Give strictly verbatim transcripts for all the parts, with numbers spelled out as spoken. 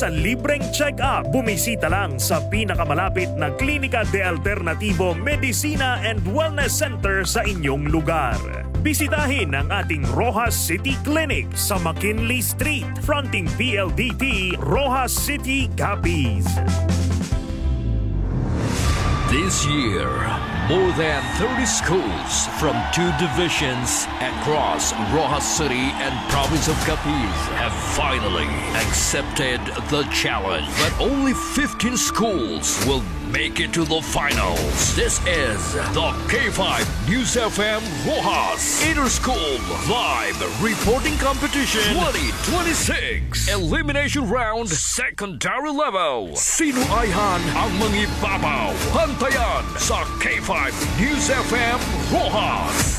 Sa libreng check-up, bumisita lang sa pinakamalapit na Klinika de Alternativo Medicina and Wellness Center sa inyong lugar. Bisitahin ang ating Roxas City Clinic sa McKinley Street, fronting P L D T, Roxas City, Capiz. This year, more than thirty schools from two divisions across Roxas City and province of Capiz have finally accepted the challenge. But only fifteen schools will make it to the finals. This is the K five News F M Roxas Interschool Live Reporting Competition twenty twenty-six Elimination Round Secondary Level. Sino ayhan ang mangibabaw? Bantayan sa K five News F M Roxas.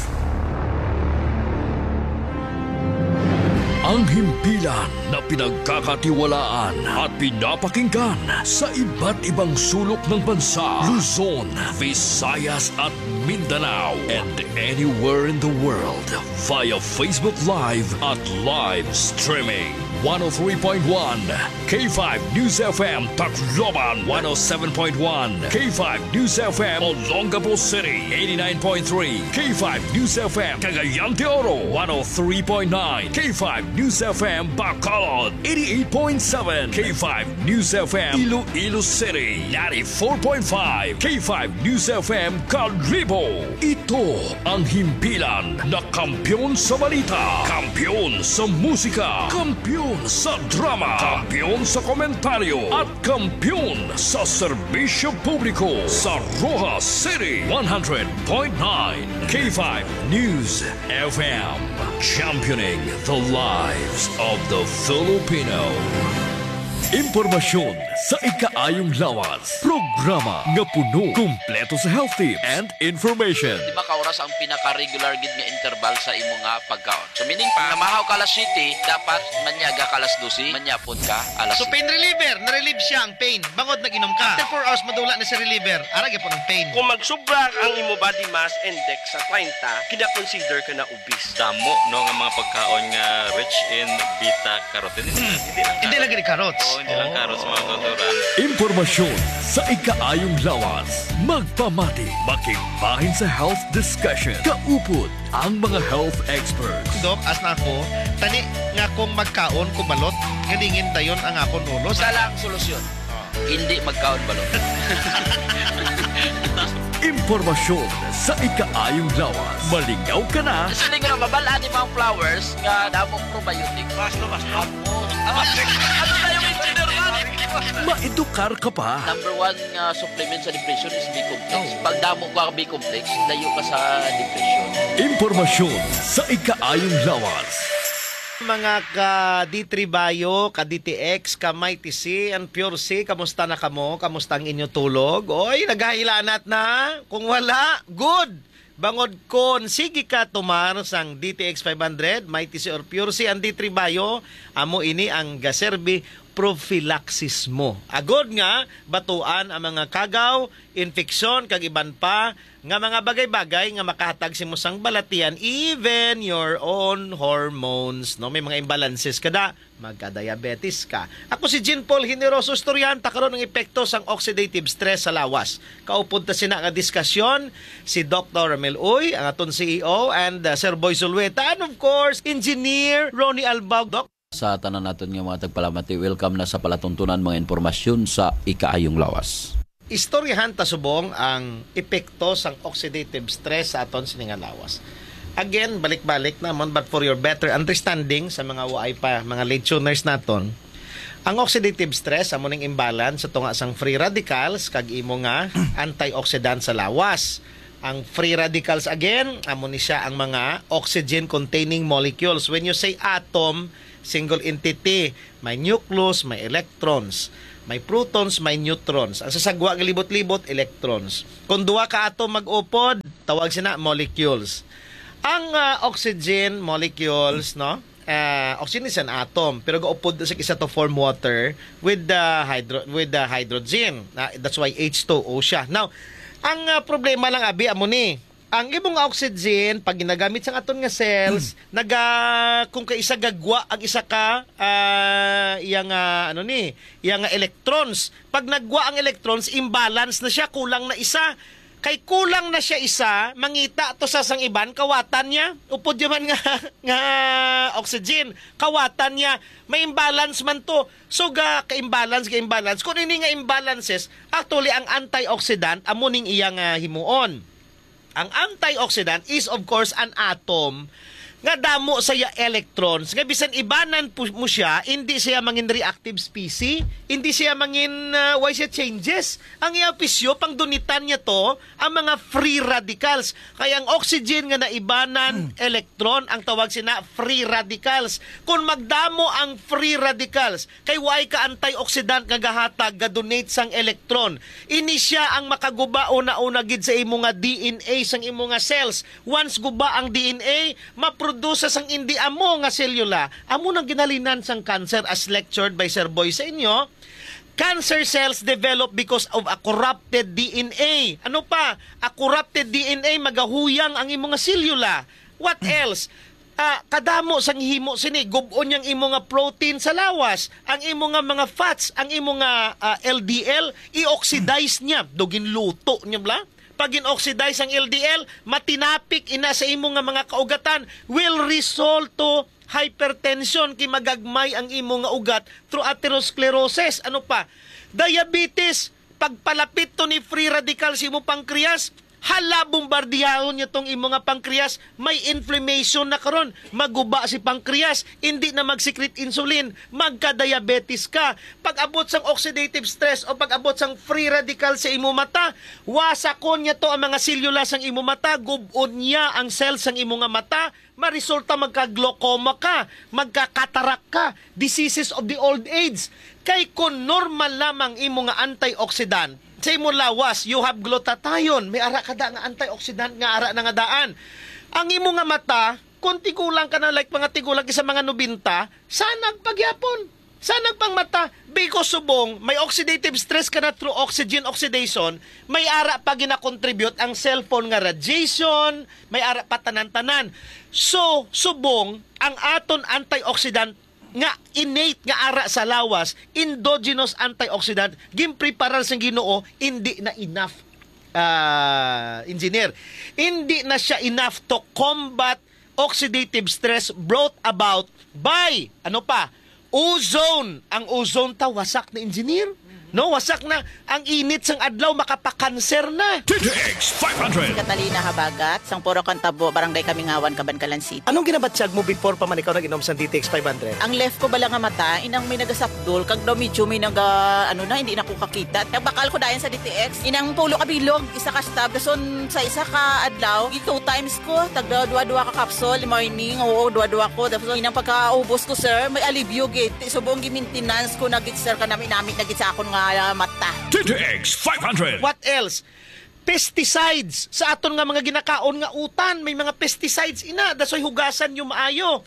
Ang himpilan na pinagkakatiwalaan at pinapakinggan sa iba't ibang sulok ng bansa, Luzon, Visayas at Mindanao, and anywhere in the world via Facebook Live at live streaming. One oh three point one K five News F M Tacloban, one oh seven point one K five News F M Olongapo City, eighty-nine point three K five News F M Cagayan de Oro, one oh three point nine K five News F M Bacolod, eighty-eight point seven K five News F M Iloilo City, ninety-four point five K five News F M Kalibo. Ito ang himpilan na kampiyon sa balita, kampiyon sa musika, kampiyon sa drama, kampiyon sa komentaryo, at kampiyon sa serbisyo publiko sa Roxas City, one hundred point nine K five News F M, championing the lives of the Filipino. Impormasyon sa ikaayong lawas. Programa nga puno, kumpleto sa health tips and information. Di ba ka oras ang pinaka-regular gid nga interval sa imo nga pagkaon? So, meaning pa, namahaw ka alas siyete, dapat manyaga ka alas dose, manyapon ka alas So, pain reliever, na-relieve siya ang pain. Bangod nag-inom ka. After four hours, madula na si reliever. Ara gyapon ang pain. Kung magsubra ang imo body mass index sa treinta, kina-consider ka na obese. Damo, no, nga mga pagkaon nga rich in beta carotene. Hindi lang Hindi carrots. lang gid carrots. Oo, hindi lang Oo. carrots, mga kauturan. Impormasyon sa ikaayong lawas. Magpamati, makigbahin sa health discussion. Kaupod ang mga health experts. Dok, as na ako, tani nga kung magkaon ko balot, galingin dayon ang akon ulo. Isa lang solusyon. Oh. Hindi magkaon balot. Impormasyon sa ikaayong lawas. Malingaw ka na. Siling nga mabal-an ni mga flowers nga damong probiotic. Basta, basta. Ano na yung engineer man? Maedukar ka pa. Number one nga supplement sa depression is B-complex. Oh. Pag damo ka B-complex, layo ka sa depression. Impormasyon sa ikaayong lawas. Mga ka D three Bio, ka D T X, ka Mighty C, and Pure C, kamusta na kamo? Kamusta ang inyo tulog? Oy, naghahilanat na? Kung wala, good! Bangod kon sige ka tumar sang D T X five hundred, Mighty C or Pure C, ang D three Bio, amo ini ang gaserbi prophylaxis mo. Agod nga batuan ang mga kagaw, infeksyon, kag iban pa nga mga bagay-bagay nga makahatag sa imo sang balatian, even your own hormones, no? May mga imbalances ka da, magka-diabetes ka. Ako si Jean Paul Generoso, istoryahan ta karon ang epekto sang oxidative stress sa lawas. Kaupod ta sina nga diskasyon si Doktor Ramil Uy, ang aton C E O, and, uh, Sir Boy Zulueta, and of course, Engineer Ronnie Albao. Doc, Sa tanan naton nga mga tagpalamati, welcome na sa palatuntunan mga impormasyon sa ikaayong lawas. Istoryahan ta subong ang epekto sang oxidative stress sa aton sini nga lawas. Again, balik-balik naman, but for your better understanding sa mga waay pa, mga late tuners naton, ang oxidative stress amo ning imbalance sa tunga sang free radicals kag imo nga antioxidant sa lawas. Ang free radicals, again, amo ni siya ang mga oxygen-containing molecules. When you say atom, single entity, may nucleus, may electrons, may protons, may neutrons. Ang sa sagwa nga libot-libot, electrons. Kung duha ka atom mag-upod, tawag sina molecules. Ang, ah, oxygen molecules, no? Ah, oxygen is an atom, pero gaupod sa isa to form water with the hydro-, with the hydrogen. Ah, that's why H two O siya. Now, ang, ah, problema lang, abi, amo ni, Ang imong oxygen, pag ginagamit sang aton nga cells, naga, kung kaisa gagwa ang isa ka, ah, iya nga, ano ni, iya nga electrons. Pag nagwa ang electrons, imbalance na siya, kulang na isa. Kay kulang na siya isa, mangita to sa sang iban, kawatan niya. Upod yaman nga, nga oxygen, kawatan niya. May imbalance man to. So, ga ka-imbalance, ga-imbalance. Kung ini nga imbalances, actually, ang antioxidant, amo ning iya nga himuon. Ang antioxidant is, of course, an atom nga damo sa iya electrons, nga bisan ibanan pu-, mo siya, hindi siya mangin reactive species, hindi siya mangin, ah, way siya changes. Ang iya pisyo, pangdunitan niya to, ang mga free radicals. Kaya ang oxygen nga naibanan electron, ang tawag sina free radicals. Kung magdamo ang free radicals, kay way ka antioxidant nga gahatag, ga-donate sang electron. Ini sia ang makaguba una-una gid sa imo nga D N A sang imo nga cells. Once guba ang D N A, maproduce sang indi amo nga selula. Amo nang ginhalinan sang cancer, as lectured by Sir Boy sa inyo. Cancer cells develop because of a corrupted D N A. Ano pa? A corrupted D N A, magahuyang ang imo nga selula. What else? Ah, kadamo sang himo sini, gub-on niyang imo nga protein sa lawas, ang imo nga mga fats, ang imo nga, ah, L D L, i-oxidize niya. Do ginluto niya bala? Pag gin-oxidize ang L D L, matinapik ina sa imo nga mga kaugatan, will result to hypertension, kay magagmay ang imo nga ugat through atherosclerosis. Ano pa? Diabetes, pagpalapit to ni free radical sa imo pancreas, hala, bombardiyahon niya tong imo nga pancreas, may inflammation na karon, maguba si pancreas, hindi na mag-secrete insulin, magka-diabetes ka. Pag-abot sang oxidative stress o pag-abot sang free radical sa imo mata, wasakon niya to ang mga selula sang imo mata, gub-on niya ang cells sang imo nga mata, maresulta magka-glaucoma ka, magka-cataract ka, diseases of the old age. Kay kon normal lamang imo nga antioxidant sa imo lawas, you have glutathione, may ara kada nga antioxidant nga ara na nga daan. Ang imo nga mata, kung tigulang ka na, like, mga tigulang isa mga nobenta, sanag pagyapon. Sanag pang mata, because subong may oxidative stress ka na through oxygen oxidation, may ara pa ginakontribute ang cellphone nga radiation, may ara pa tanan-tanan. So, subong ang aton antioxidant nga innate nga ara sa lawas, endogenous antioxidant, ginpreparar sang Ginoo, hindi na enough, ah, engineer. Hindi na siya enough to combat oxidative stress brought about by, ano pa? Ozone. Ang ozone ta, wasak na, engineer. No, wasak na. Ang init sang adlaw, makapakanser na. D T X five hundred. Si Catalina Habagat, sang Puro Kantabo, Barangay Kamingawan, Kabankalan City. Anong ginabatyag mo before pa man ikaw nag-inom sa D T X five hundred? Ang left ko bala nga mata, inang may nagasapdol, kag daw medyo may naga, ano na, hindi na ko kakita. Nagbakal ko dayon sa D T X, inang pulo ka bilog, isa ka stab, dason sa isa ka adlaw, two times ko, tagda duwa-duwa ka capsule, morning, oo, duwa-duwa ko. Tapos inang pagkaubos ko, sir, may alibyo gid. Ti subong gi-maintenance ko na gid, sir, kanami-nami na gid sa akon nga, ah, mata. D T X five hundred. What else? Pesticides sa aton nga mga ginakaon nga utan, may mga pesticides ina, dasoy hugasan niyo maayo.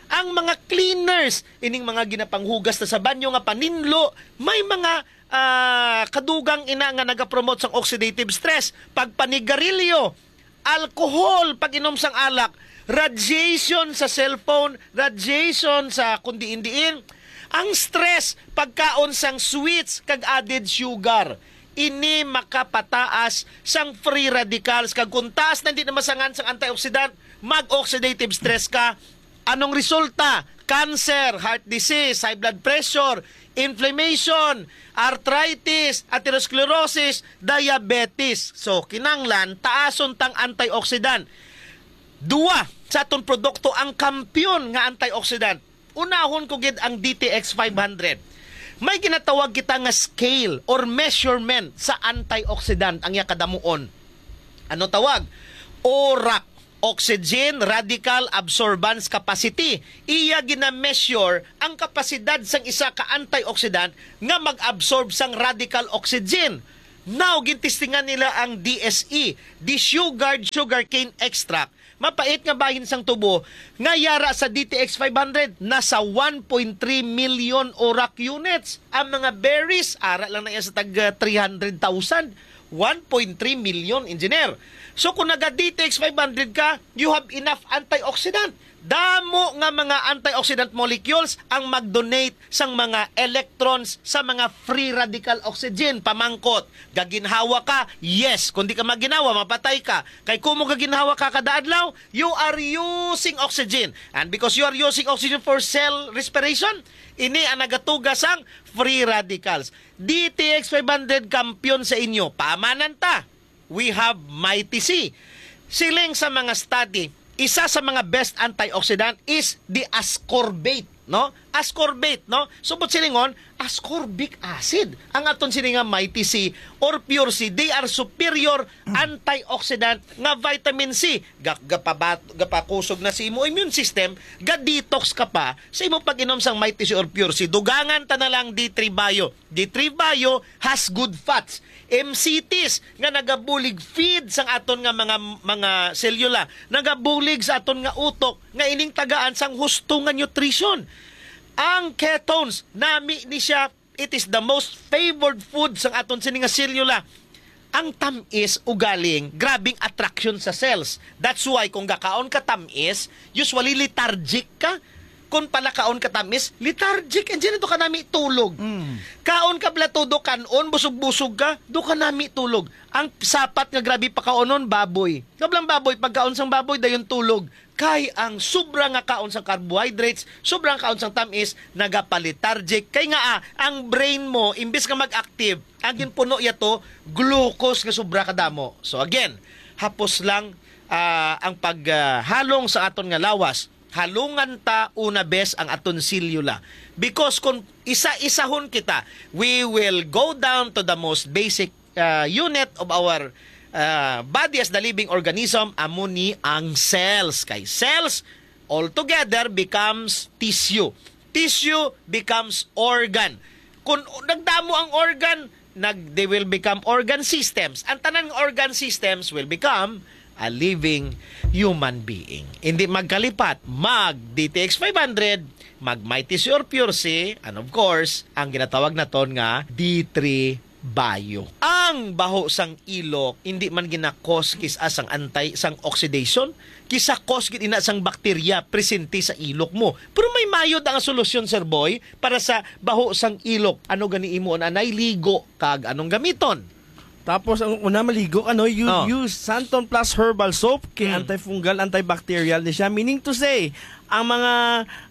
Ang mga cleaners, ining mga ginapanghugas na sa banyo nga paninlo, may mga, ah, kadugang ina nga nagapromote sang oxidative stress, pagpanigarilyo, alcohol, pag-inom sang alak, radiation sa cellphone, radiation sa kung diin-diin. Ang stress, pagkaon sang sweets kag added sugar. Ini makapataas sang free radicals, kag kung taas na hindi na masangan sang antioxidant, mag-oxidative stress ka. Anong resulta? Cancer, heart disease, high blood pressure, inflammation, arthritis, atherosclerosis, diabetes. So, kinanglan taason tang antioxidant. Duwa sa aton produkto ang kampiyon nga antioxidant. Unahon ko gid ang D T X five hundred. May ginatawag kita nga scale or measurement sa antioxidant, ang iya kadamuon. Ano tawag? ORAC, oxygen radical absorbance capacity. Iya gina-measure ang kapasidad sang isa ka antioxidant nga mag-absorb sang radical oxygen. Now, gintistingan nila ang D S E, desugared sugarcane extract, Mapait nga bahin sang tubo nga yara sa D T X five hundred, nasa one point three million orak units. Ang mga berries, ara lang na iya sa tag, ah, three hundred thousand. One point three million, engineer. So kung naga D T X five hundred ka, you have enough antioxidant. Damo nga mga antioxidant molecules ang mag-donate sang mga electrons sa mga free radical oxygen. Pamangkot, gaginhawa ka? Yes. Kung di ka maginhawa, mapatay ka. Kay kung mo gaginhawa ka kada adlaw, you are using oxygen. And because you are using oxygen for cell respiration, ini ang nagatuga sang free radicals. D T X five hundred kampiyon sa inyo. Paamanan ta. We have Mighty C. Siling sa mga study, isa sa mga best antioxidant is the ascorbate, no? Ascorbate, no? Subot silingon, ascorbic acid. Ang aton sini nga Mighty C or Pure C, they are superior antioxidant nga vitamin C. Ga-, gapabat-, gapakusog na sa imo immune system, ga-detox ka pa sa imo pag-inom sang Mighty C or Pure C. Dugangan ta na lang D three Bio. D three Bio has good fats, M C Ts nga nagabulig feed sang aton nga mga, mga selula, nagabulig sa aton nga utok nga ining tagaan sang husto nga nutrition. Ang ketones, nami ni siya, it is the most favored food sang aton sini nga selula. Ang tamis ugaling grabing attraction sa cells. That's why kung gakaon ka tamis, usually lethargic ka. Kung palakaon ka tamis, lethargic, and dyan ito ka nami tulog. Mm. Kaon ka bala todo kanon, busog-busog ka, do ka nami tulog. Ang sapat nga grabe pakaonon, baboy. Kablang baboy, pagkaon sang baboy, dayon tulog. Kay ang sobra nga kaon sang carbohydrates, sobra nga kaon sang tamis, nagapalitargic. Kay nga, ah, ang brain mo, imbis nga mag-active, ang ginpuno yato, glucose nga sobra kadamo. So again, hapos lang, ah, ang paghalong sa aton nga lawas. Halungan ta una bes ang aton selula. Because kung isa-isahon kita, we will go down to the most basic, ah, unit of our, ah, body as the living organism, amo ni ang cells. Kay cells altogether becomes tissue. Tissue becomes organ. Kung nagdamo ang organ, nag, they will become organ systems. Ang tanan nga organ systems will become a living human being. Hindi magkalipat, mag D T X five hundred, mag Mighty C or Pure C, and of course, ang ginatawag naton nga D three Bio. Ang baho sang ilok, hindi man gina-cause kis-a sang anti, sang oxidation, kis-a cause gid ina sang bakterya presente sa ilok mo. Pero may mayod ang solusyon, Sir Boy, para sa baho sang ilok. Ano gani imo anay ligo kag anong gamiton? Tapos ang una maligo, ano, you Oh. use Santon Plus Herbal Soap, kay Mm. antifungal, antibacterial ni siya. Meaning to say, ang mga,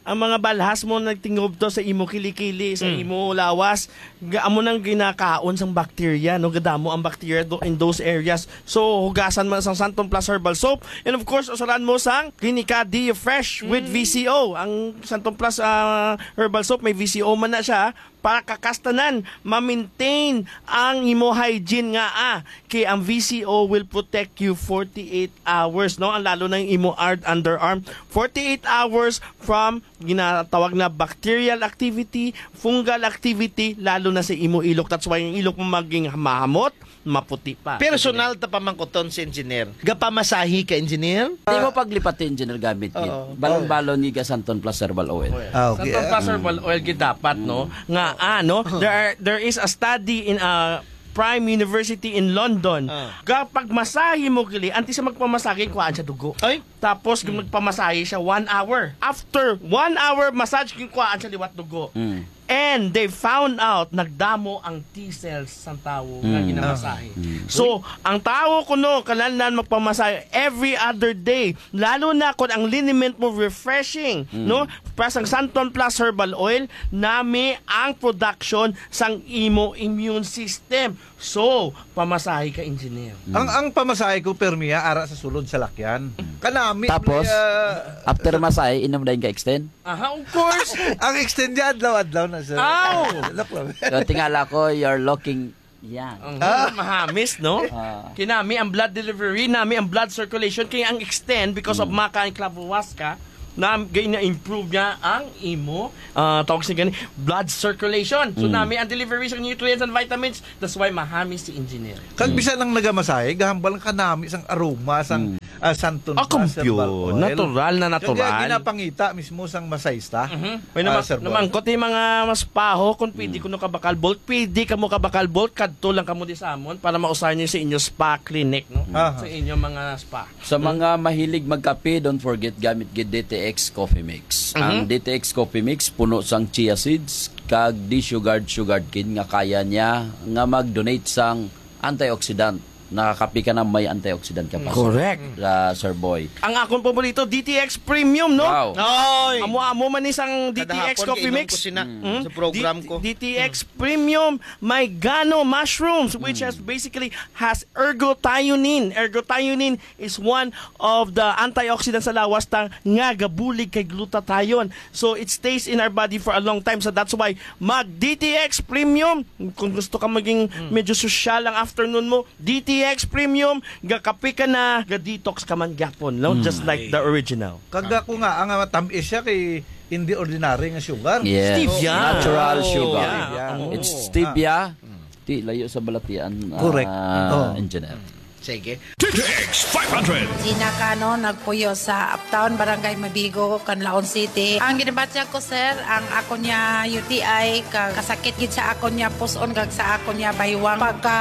ang mga balhas mo nagtingub to sa imo kilikili, sa Mm. imo lawas, ga-, amo nang ginakaon sang bacteria, no? Gadamo ang bacteria do, in those areas. So, hugasan mo sang Santon Plus Herbal Soap. And of course, usalan mo sang Clinica D Fresh with Mm. V C O. Ang Santon Plus, ah, Herbal Soap, may V C O man na siya. Para kakastanan, ma-maintain ang imo hygiene nga, ah, kay ang V C O will protect you forty-eight hours, no? Ang lalo na yung imo ar-, underarm, forty-eight hours from ginatawag na bacterial activity, fungal activity, lalo na sa imo ilok. That's why yung ilok mo maging mahamot, maputi pa. Personal ta pamangkuton si engineer. Gapamasahe ka, engineer? Di mo paglipati, engineer, gamit gid. Oo. Balon-balon ni ga Santon Plus Herbal Oil. Ah, okay. Santon Plus Herbal Oil gid dapat, no? Nga, ano, there are, there is a study in, uh, Prime University in London. Ah. Kapag masahe mo kili, antes sa magpamasahe, kuhaan siya dugo. Ay? Tapos, kung nagpamasahe siya, one hour. After one hour massage, kuhaan siya liwat dugo. Mm. And they found out, nagdamo ang T cells sang tawo nga Mm. ginamasahe. Mm. So, ang tawo kuno, kinahanglan magpamasahe every other day. Lalo na kung ang liniment mo refreshing, Mm. no? Plus ang Santon Plus Herbal Oil, nami ang production sang imo immune system. So, pamasahe ka, engineer. Mm. Ang, ang pamasahe ko, permi, ah, ara sa sulod sa lakyan. Kanami, Tapos, ah, after masahe, inom dayon ka extend? Aha, of course. Ang extend niya, adlaw-adlaw na, sir. Aw! Look lang. So, tingala ko, you're looking young. Ang Ah. mahamis, no? Ah. Kinami ang blood delivery, nami ang blood circulation, kaya ang extend, because of Mm. maca and clavuasca, na, gay na-improve niya ang imo, ah, tawag sa gani, blood circulation. So, Mm. nami ang delivery sa nutrients and vitamins. That's why mahamis si engineer. Kag Mm. bisan ang nagamasahe, gahambal ang kanami sang aroma, sang Mm. Ah, santon Ah, pa, kumpyo. Herbal oil. Natural na natural. Kaya ginapangita mismo sang masayista, Mhm. May ah, nama-, Sir Boy. Namangkot yung mga maspaho kung pwede Mm. kuno ka bakal bolt. Pwede ka mo ka bakal bolt, kadto lang kamo di sa amon para mausahan niyo sa inyo spa clinic, no? Aha. Sa inyong mga spa. Sa Mm. mga mahilig magkape, don't forget gamit gid D T X Coffee Mix. Mhm. Ang D T X Coffee Mix puno sang chia seeds kag desugared sugarcane nga kaya niya nga mag-donate sang antioxidant. Nakakape ka na may antioxidant ka pa, Correct. uh, Sir Boy. Ang akong paborito, D T X Premium, no? Wow. Oy. Amo-amo man ni sang D T X Kada hapon Coffee kainom Mix. ko sina Mm. sa program D-, ko. D T X Premium, may gano mushrooms, which Mm. has basically has ergothioneine. Ergothioneine is one of the antioxidants sa lawas ta nga gabulig kay glutathione. So, it stays in our body for a long time. So, that's why mag D T X Premium. Kung gusto ka maging Mm. medyo sosyal ang afternoon mo, D T X Premium, gakape ka na, ga-detox ka man gyapon, no? Mm. Just like the original. Kag ako nga, ang, ah, tamis siya kay hindi ordinary nga sugar. Yes. Stevia. Natural Oh, sugar. yeah. Stevia. Oo. It's stevia. Ah. Mm. Di layo sa balatian, Correct. ah, Oh. Engineer. Sige. D T X five hundred. Gina Cano, nagpuyo sa Uptown, Barangay Mabigo, Canlaon City. Ang ginabatyag ko, sir, ang ako niya U T I, ka-, kasakit gid sa ako niya puson, kag sa ako niya baywang. Pagka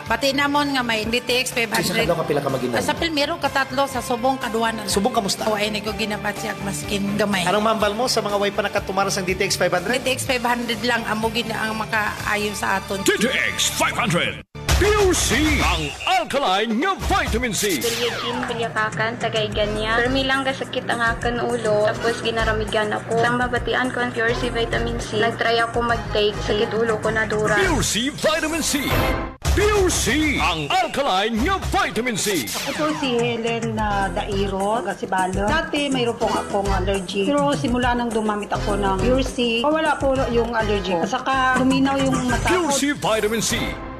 bati namon nga may D T X five hundred. Sa kadlaw, kapila ka mag-inom? Sa primero, katatlo, sa subong, kaduha na lang. Subong, kamusta? Wa ay nagko ginabatyag, maskin gamay. Anong mambal mo sa mga way pa nakatumar sang D T X five hundred? D T X five hundred lang, amo gid ang makaayo sa aton. D T X five hundred. Pure C, ang alkaline nga vitamin C. Kuya Jim Kulyakakan, taga Igania. Permi lang kasakit ang akon ulo, tapos ginaramigan ako. Sang mabatian ko ang Pure C Vitamin C, nag-try ako mag-take, sakit ulo ko nadura. Pure C Vitamin C. Pure C, ang alkaline nga vitamin C. Ako po si Helen, ah, Dairo, taga Sibalom. Dati mayroon po akong allergy. Pero simula nang gumamit ako ng Pure C, wala po yung allergy ko. At saka luminaw yung mata ko. Pure C Vitamin C.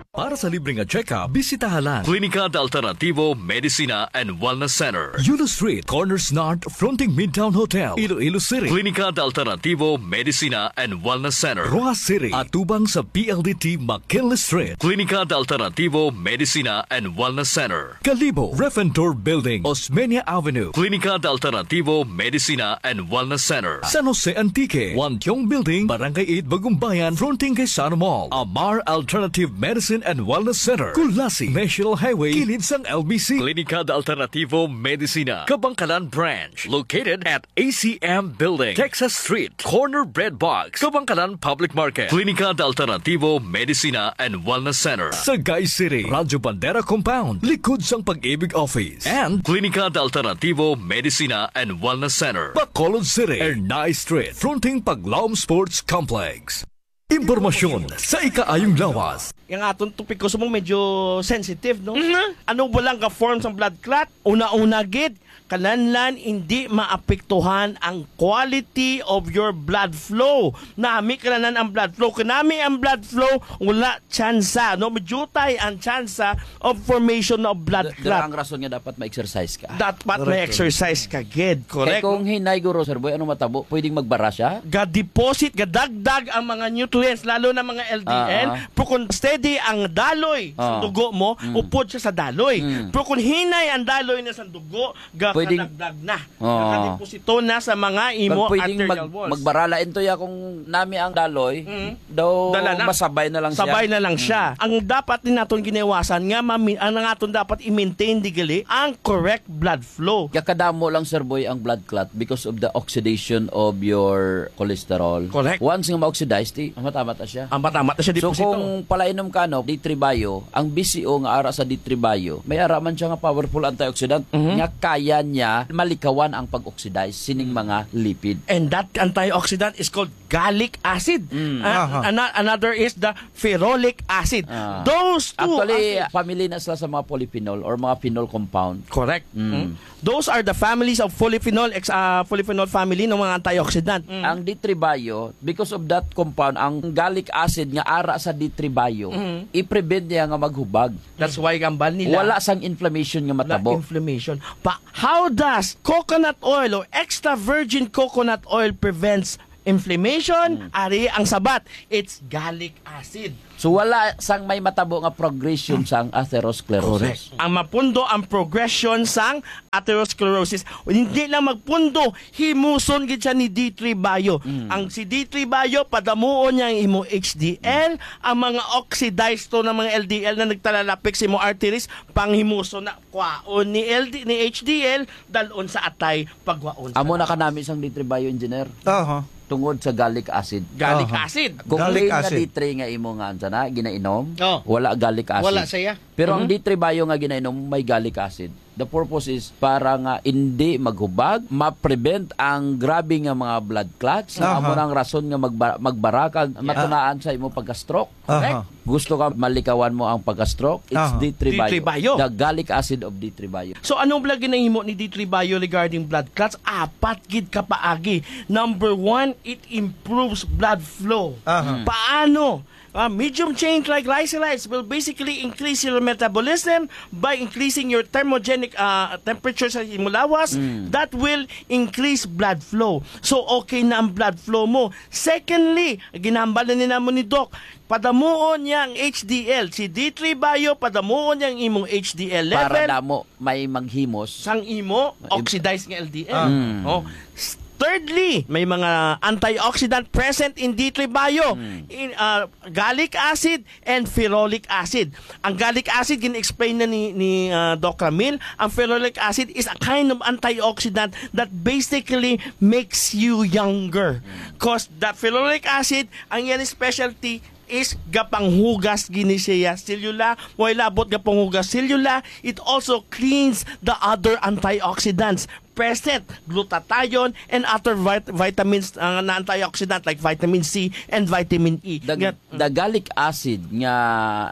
Para sa libre nga check-up, bisitaha lang Clínica de Alternativo Medicina and Wellness Center, Yulo Street, Corners North, fronting Midtown Hotel, Iloilo City. Clínica de Alternativo Medicina and Wellness Center, Roxas City, atubang sa P L D T McKinley Street. Clínica de Alternativo Medicina and Wellness Center, Kalibo, Refentor Building, Osmeña Avenue. Clínica de Alternativo Medicina and Wellness Center, San Jose Antique, Wantiong Building, Barangay eight, Bagumbayan, fronting kay Sano Mall. Amar Alternative Medicine and Wellness Center, Culasi, National Highway, kilid sang L B C. Clínica de Alternativo Medicina, Kabankalan Branch, located at A C M Building, Texas Street, corner Bread Box, Kabankalan Public Market. Clínica de Alternativo Medicina and Wellness Center, Sagay City, Radyo Bandera Compound, likod sang Pag-ibig Office. And Clínica de Alternativo Medicina and Wellness Center, Bacolod City, Ernai Street, fronting Paglaom Sports Complex. Impormasyon sa ikaayong lawas. Yung aton topiko sa mong medyo sensitive, no? Mhm. Ano ba lang ka form sang blood clot? Una-una gid, kananlan hindi maapektuhan ang quality of your blood flow. Nami kananlan ang blood flow. Kanami ang blood flow, wala tsansa, no? Medyo tay ang tsansa of formation of blood Da-, dira clot. Ang rason nga dapat ma-exercise ka. Dapat Correct, may correct. Exercise ka, gid. Correct. Kay kung hinay, guro, Sir Boy, ano matabo? Pwedeng magbara siya? Ga-deposit, gadagdag ang mga nutrients, lalo na mga L D L. Ah, ah. Pero kung steady ang daloy sa Ah. dugo mo, Mm. upod siya sa daloy. Mm. Pero kung hinay ang daloy na sa dugo, Pwedeng gadagdag na. Oo. Nakadeposito na sa mga imo Pag pwedeng arterial mag-, walls. Magbara la intoy akong nami ang daloy, Mm. daw Dala na. masabay na lang siya. Sabay na lang siya. Mm. Ang dapat din naton giniwasan nga mami-, ang aton dapat i-maintain di gali ang correct blood flow. Kaya kadamo lang, Sir Boy, ang blood clot because of the oxidation of your cholesterol. Correct. Once nga ma-oxidize, di, matamat na siya. Ang matamat na siya, So, deposito. kung palainom ka, no, D three Bio, ang B C O nga ara sa D three Bio, may ara man siya nga powerful antioxidant Mhm. nga kaya niya malikawan ang pag-oxidize sining Mm. mga lipid. And that antioxidant is called gallic acid. Mm. Ah, Aha. ana-, another is the ferulic acid. Ah. Those two Actually, acids. family na sila sa mga polyphenol or mga phenol compound. Correct. Mm. Mm. Those are the families of polyphenol, ex-, ah, polyphenol family ng mga antioxidant. Mm. Ang D three Bio, because of that compound, ang gallic acid nga ara sa D three Bio, Mm. i-prevent niya nga maghubag. That's why gambal nila. Wala sang inflammation nga Wala matabo. inflammation. Pa, how does coconut oil or extra virgin coconut oil prevents inflammation, ari ang sabat. It's gallic acid. So, wala sang may matabo nga progression sang atherosclerosis. Correct. Ang mapundo ang progression sang atherosclerosis. Hindi lang magpundo, himuson gid siya ni D three Bio. Ang si D three Bio, padamuon niya ang imo H D L, ang mga oxidized to ng mga L D L na nagtalalapik sa imo arteries, panghimuson na, kwaon ni L D, ni H D L, dalon sa atay, pagwaon sa Amo na lawas. Kanami sang D three Bio, engineer. Aha. Tungod sa gallic acid. Gallic Aha. acid. Kung Gallic plain nga acid. D three nga imo nga, ansa na, ginainom, Oh. wala gallic acid. Wala siya. Pero ang Mhm. D three Bio nga ginainom, may gallic acid. The purpose is para nga hindi maghubag, ma-prevent ang grabe nga mga blood clots, nga Aha. amo nang rason nga magba-, magbarakag, Yeah. matunaan sa imo pagka-stroke. Aha. Correct? Gusto ka malikawan mo ang pagka-stroke? It's Aha. D three Bio. D three Bio. The gallic acid of D three Bio. So, ano bala ginahimo ni D three Bio regarding blood clots? Apat gid ka paagi. Number one, it improves blood flow. Aha. Mm. Paano? Ah, medium chain triglycerides will basically increase your metabolism by increasing your thermogenic, ah, temperature sa imong lawas. Mm. That will increase blood flow. So, okay na ang blood flow mo. Secondly, ginahambal na ni namo ni Doc, padamuon niya ang H D L. Si D three Bio, padamuon niya ang imong H D L level. Para damo may maghimos. Sang imo, Ib- oxidized nga L D L. Ah. Mm. Oh. S-, thirdly, may mga antioxidant present in D three Bio. Mm. In, ah, gallic acid and ferulic acid. Ang gallic acid, gin-explain na ni, ni, ah, Doc Ramil. Ang ferulic acid is a kind of antioxidant that basically makes you younger. 'Cause the ferulic acid, ang iyang specialty is gapanghugas gini siya selula. Way labot gapanghugas selula, it also cleans the other antioxidants present, glutathione and other vit-, vitamins, ah, na antioxidant like vitamin C and vitamin E. The, Nga the gallic acid nga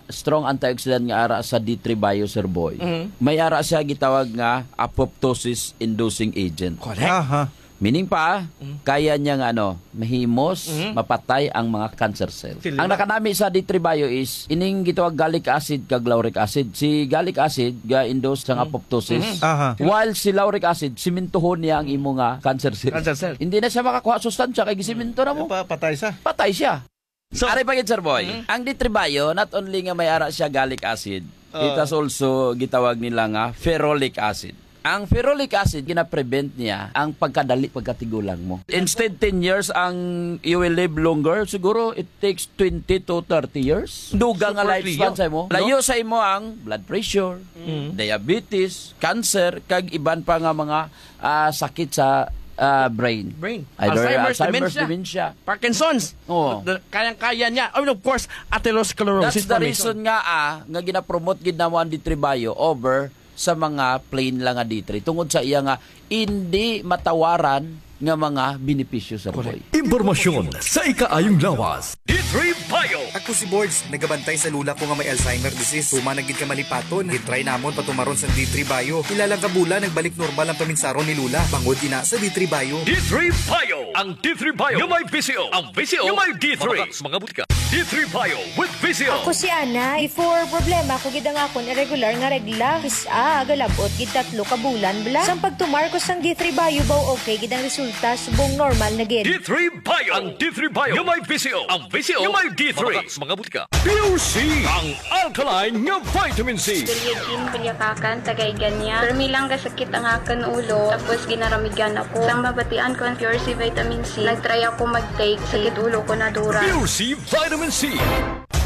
strong antioxidant nga ara sa D three Bio, Sir Boy, Mhm. may ara siya gitawag nga apoptosis inducing agent. Correct. Aha. Meaning pa, Mm. kaya niya nga, ano, mahimos, Mm. mapatay ang mga cancer cell. Sila. Ang nakanami sa D three Bio is ining gitawag gallic acid kag lauric acid. Si gallic acid ga-induce sang Mm. apoptosis, Mm. Aha. while si lauric acid, simintuhon niya ang imo nga cancer cell. Cancer cell. Hindi na siya makakuha sustansya kay gisiminto na mo. Pa-, patay siya. Patay siya. So, Ari pa gid, Sir Boy. Mm. Ang D three Bio, not only nga may ara siya gallic acid, Oo. it has also gitawag nila nga ferulic acid. Ang ferulic acid, gina-prevent niya ang pagkadali pagkatigulang mo. Instead ten years ang you will live longer, siguro it takes twenty to thirty years. Dugang nga Super lifespan Leo. sa imo. No? Layo sa imo ang blood pressure, Mm. diabetes, cancer, kag iban pa nga mga, ah, sakit sa, ah, brain. Brain. Either Alzheimer's, Alzheimer's dementia. dementia. Parkinson's. Oo. The, kayang-kaya niya. And of course, atherosclerosis That's the formation. reason nga, ah, nga ginapromote gid namo ang D three Bio over sa mga plain lang nga D three tungod sa iya nga hindi matawaran nga mga benepisyo, Sir Boy. Correct. Impormasyon sa ikaayong lawas. D three Bio. Ako si Borge, nagabantay sa lula ko nga may Alzheimer disease. Human na gid ka malipaton. Gitry namon patumaron sa D three Bio. Pila lang ka bulan, nagbalik normal ang paminsaron ni lula. Bangod ina sa D three Bio. D three Bio. Ang D three Bio. Nga may V C O. Ang V C O. Nga may D three. Mga butika. D three Bio with V C O. Ako si Ana. Before, problema ko gid ang akon irregular nga regla. Kis-a, galabot gid tatlo ka bulan bala. Sang pagtumar ko sang D three Bio, baw okay gid ang resulta, subong normal na gid. D three Bio. Ang D three Bio. Nga may V C O. Ang V C O. Nga may D three. Mga, mga butika. Pure C. Ang alkaline nga vitamin C. Julietine Pulyakakan, taga Igania. Permi lang gasakit ang akon ulo, tapos ginaramigan ako. Sang mabatian ko ang Pure C Vitamin C, nagtry ako mag-take. Sakit ulo ko na dura. Pure C Vitamin C.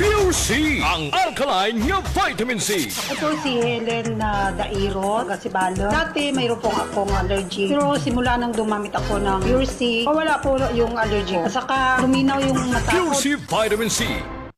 Pure C, ang alkaline nga vitamin C. Ito si Helen na Dairo, taga Sibalom. Dati mayroon pong akong allergy. Pero simula nang dumamit ako ng Pure C, wala po yung allergy ko. At saka luminaw yung mata ko. Pure C Vitamin C.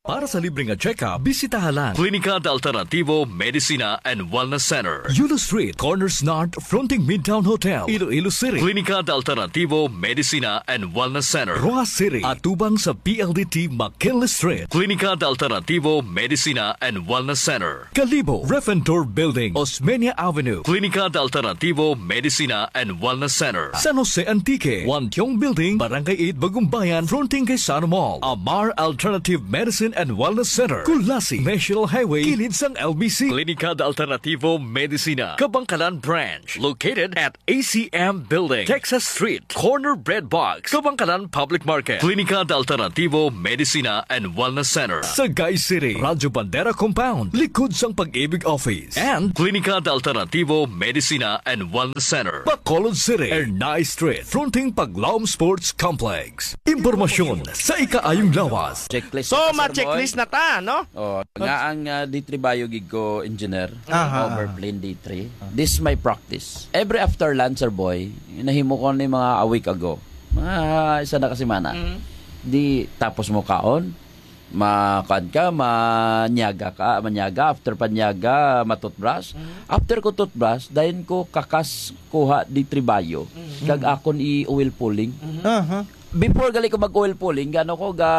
Para sa libre nga check-up, bisitaha lang Klinika de Alternativo Medicina and Wellness Center, Yulo Street, Corners North, fronting Midtown Hotel, Iloilo City. Klinika de Alternativo Medicina and Wellness Center, Roxas City, atubang sa P L D T McKinley Street. Klinika de Alternativo Medicina and Wellness Center, Kalibo, Ref and Tour Building, Osmeña Avenue. Klinika de Alternativo Medicina and Wellness Center, San Jose Antique, Wantiong Building, Barangay eight, Bagumbayan, fronting kay Sano Mall. Amar Alternative Medicine and Wellness Center, Culasi, National Highway, kilid sang L B C. Klinika de Alternativo Medicina, Kabankalan Branch, located at A C M Building, Texas Street, corner Bread Box, Kabankalan Public Market. Klinika de Alternativo Medicina and Wellness Center, Sagay City, Radyo Bandera Compound, likod sang Pag-ibig Office. And Klinika de Alternativo Medicina and Wellness Center, Bacolod City, Ernai Street, fronting Paglaom Sports Complex. Impormasyon sa ikaayong lawas. Checklist So, na ta, Sir ma-checklist Boy. na ta, no? Oh, nga ang, ah, D three Bio gid ko, engineer, Aha. over plain D three. This is my practice. Every after lunch, Sir Boy, nahimo ko ni mga a week ago. Mga isa na ka semana. Mm. Di, tapos mo kaon, ma-, kuan ka, manyaga ka, manyaga, after panyaga, matutbrush. Mm. After ko toothbrush, dayon ko kakas kuha D three Bio. Mm. Kag akon i-oil pulling. Mm. Aha. Before gali ko mag-oil pulling, gano ko ga,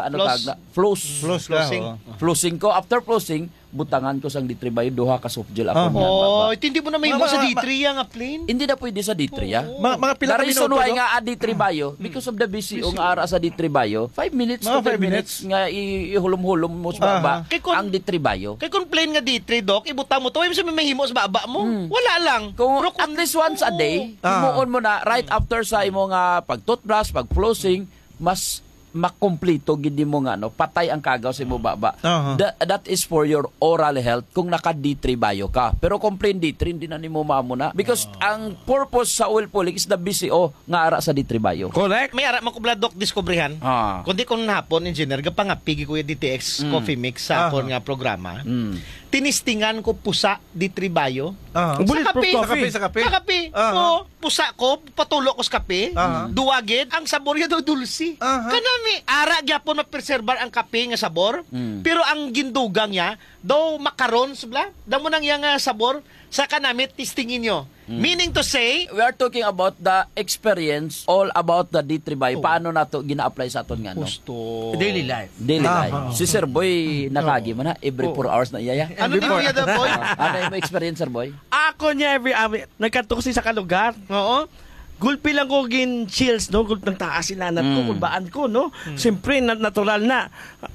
ano Floss. tawag na? Floss. Floss ka, Flossing. oo. Flossing ko. After flossing, butangan ko sang D three Bio, duha ka soft gel ako Ah. niya, Oh, baba. Hindi mo na mahimo Ma-, sa ma-, D three yang nga plain? Hindi na pwede sa D three, ah. Oo. Mga, mga pila The ka reason minuto, why Doc? nga, ah, D three Bio, Mm. because of the B C O Busy. nga ara sa D three Bio, five minutes Mga to ten five minutes minutes. nga i-, ihulom-hulom mo sa Aha. baba Kay kun ang D three Bio. Kay kung plain nga D three, Doc, ibutang mo to, ay mo sa may mahimo sa baba mo. Mm. Wala lang. Kung Pero kung at least once a day, Ah. himuon mo na right Mm. after sa imo nga pag-toothbrush, pag-flossing, mas makumplito gid mo nga, no, patay ang kagaw sa imo baba. Aha. Tha-, that is for your oral health kung naka D three Bio ka. Pero kung plain D three, hindi na nimo maamo na. Because Ah. ang purpose sa oil pulling is the B C O nga ara sa D three Bio. Correct. May ara man ko bala, Doc, diskubrihan. Ah. Kundi kung hapon, engineer, gapangapigi ko yung D T X Mm. Coffee Mix sa Aha. akon nga programa. Mm. Tinistingan ko pusa D three Bio. Aha. Sa Bulletproof kape. Sa kape, coffee. sa kape. Sa kape. Aha. Oo. Pusa ko, patulo ko sa kape. Aha. Duwa gid, ang sabor niya daw dulce. Aha. Kanami, ara gyapon mapreserbar ang kape nga sabor, Mm. pero ang gindugang niya daw makarons bla. Damo nang iya nga sabor sa kanami, testingin nyo. Mm. Meaning to say, We are talking about the experience all about the D three Bio. Oh. Paano nato gina-apply sa aton nga, no? Gusto. Daily life. Daily Ah, life. ah. Si Sir Boy, nakaagi man, ha? Every Oo. four hours na iya, ya. Ano Every ni four. Kuya Daboy? Ano yung experience, Sir Boy? Ako niya every, ah, nagkadto ko sa isa ka lugar. Oo. Gulpi lang ko gin chills, no? Gulpi nagtaas sila nat ko, Mm. kulbaan ko, no? Mm. Siyempre, na-, natural na.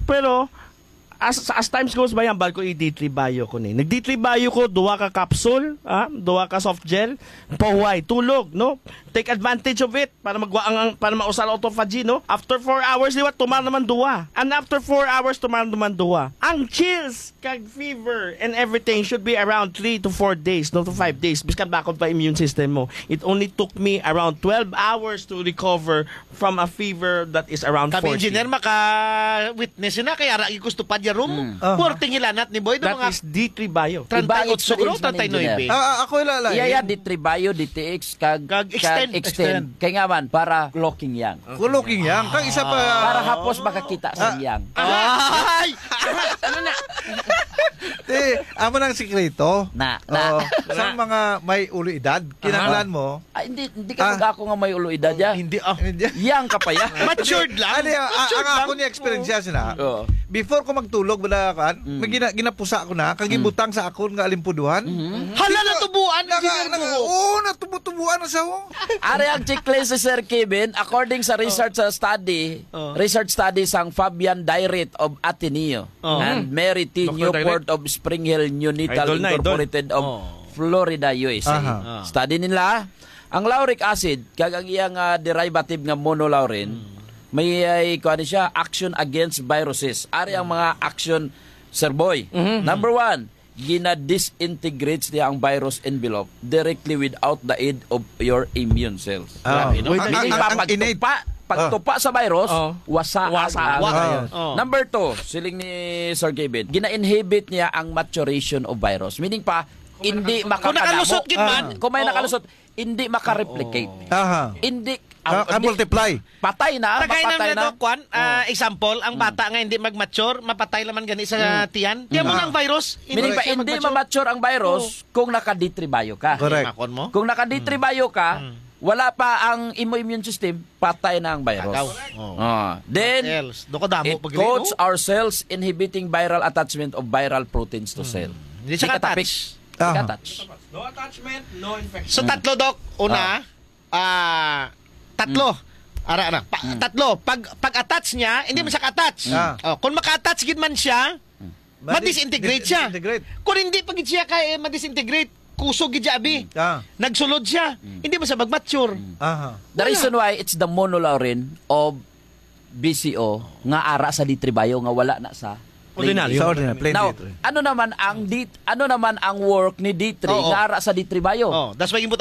Pero, as, as times goes by, ang bal ko i-D three Bio ko ni. Nag-D three Bio ko, duha ka capsule, ah, duha ka soft gel, pahuway, tulog, no? Take advantage of it para magwa ang, ang, para mausal autophagy, no? After four hours, liwat, tumar naman duha. And after four hours, tumar naman duha. Ang chills, kag fever and everything should be around three to four days, no, to five days. Biskan bakod pa immune system mo. It only took me around twelve hours to recover from a fever that is around Kami forty. Engineer, maka-witness na kay ara gusto pa diya room. Mm. Aha. Forty hilanat ni Boy, That mga is D three Bio. Treinta y ocho Iba experience siguro, man, treinta y nuebe. Engineer. Ah, ah, ako ila, Iya, iya, D three Bio, D T X, kag, Kag extend. kag extend. Extend. Kay nga man, para clocking yang. Kuloking yang. Kang isa pa. Para hapos makakita sa Ah. yang. Ay! Ano na? Te, amo nang sikreto. Na, na. Oo. Sa Na. mga may ulo edad, kinahanglan Aha. mo. Ah, hindi, hindi ka Ah. mag-ako nga may ulo edad, ya. Hindi, ah. Hindi. Yang ka pa, ya. Matured lang. Ano, ah, Matured ang lang. ako ni experience yan sila. Oo. Before ko magtulog, wala kan, Mm. may gina-, ginapusa ko na, kag Mm. gibutang sa akon nga alimpuduhan. Mhm. Hala, natubuan ang Naka-, Engineer naka-, Buho. oo, natubu-tubuan na sa ho. Ari ang checklist si Sir Kevin, according sa research, sa study, Oh. research study sang Fabian Dairit of Ateneo Oh. and Mary T. Doctor Newport Dairit. of Spring Hill Neonatal Idol na, idol. Incorporated of Oh. Florida, U S A. Aha. Ah. Study nila, ang lauric acid, kag ang iyang, ah, derivative nga monolaurin, Hmm. may, ay, kuha ni siya, action against viruses. Ari ang mga action, Sir Boy. Mhm. Number one, gina-disintegrates niya ang virus envelope directly without the aid of your immune cells. Ah, Grabe, no? wait, Ang, Meaning ang, pa, ang pagtupa, innate. pagtupa sa virus, Oh. wasa Wasa. ang Wa-, virus. Oh. Number two, siling ni Sir Kevin, gina-inhibit niya ang maturation of virus. Meaning pa, Kung hindi nakalusot. Kung makakadamo. nakalusot gid man. Ah. Kung may Oo. nakalusot, hindi makareplicate. Aha. Hindi, Ah, ang, ah, hindi, multiply. patay na, Tagay na mapatay na na. to, kwan, ah, Oh. example, ang Mm. bata nga hindi mag-mature, mapatay naman gani sa Mm. tiyan. Tiyan mo Mm. na ang virus, Meaning hindi pa, siya hindi mag-mature. ma-mature ang virus Oo. kung naka-D three bio ka. Correct. Makon mo? Kung naka-D three Mm. bio ka, Mm. wala pa ang imo immune system, patay na ang virus. Agaw. Oh. Ah. Then, What else? Doon ka damo it pag coats oh. our cells inhibiting viral attachment of viral proteins to Mm. cell. Hindi siya Di ka ka-touch. tapik. Di ka Aha. touch. No attachment, no infection. So, tatlo, Doc. Una, Ah. ah, tatlo. Mm. Ara, ara. Pa, Hmm. Tatlo, pag pag-attach niya, hindi man siya ka-attach. Ah. Oh, kung maka-attach gid man siya, Madi- ma-disintegrate siya. disintegrate. Kung hindi pa gid siya kay ma-disintegrate, kusog gid siya abi. Ah. Nagsulod siya. Hindi man siya mag-mature. Aha. The reason why it's the monolaurin of B C O nga ara sa D three Bio nga wala na sa Ordinaryo. Sa ordinary, plain Now, D three. Ano naman ang D, ano naman ang work ni D three Oo. nga ara sa D three Bio? Oh, that's why yung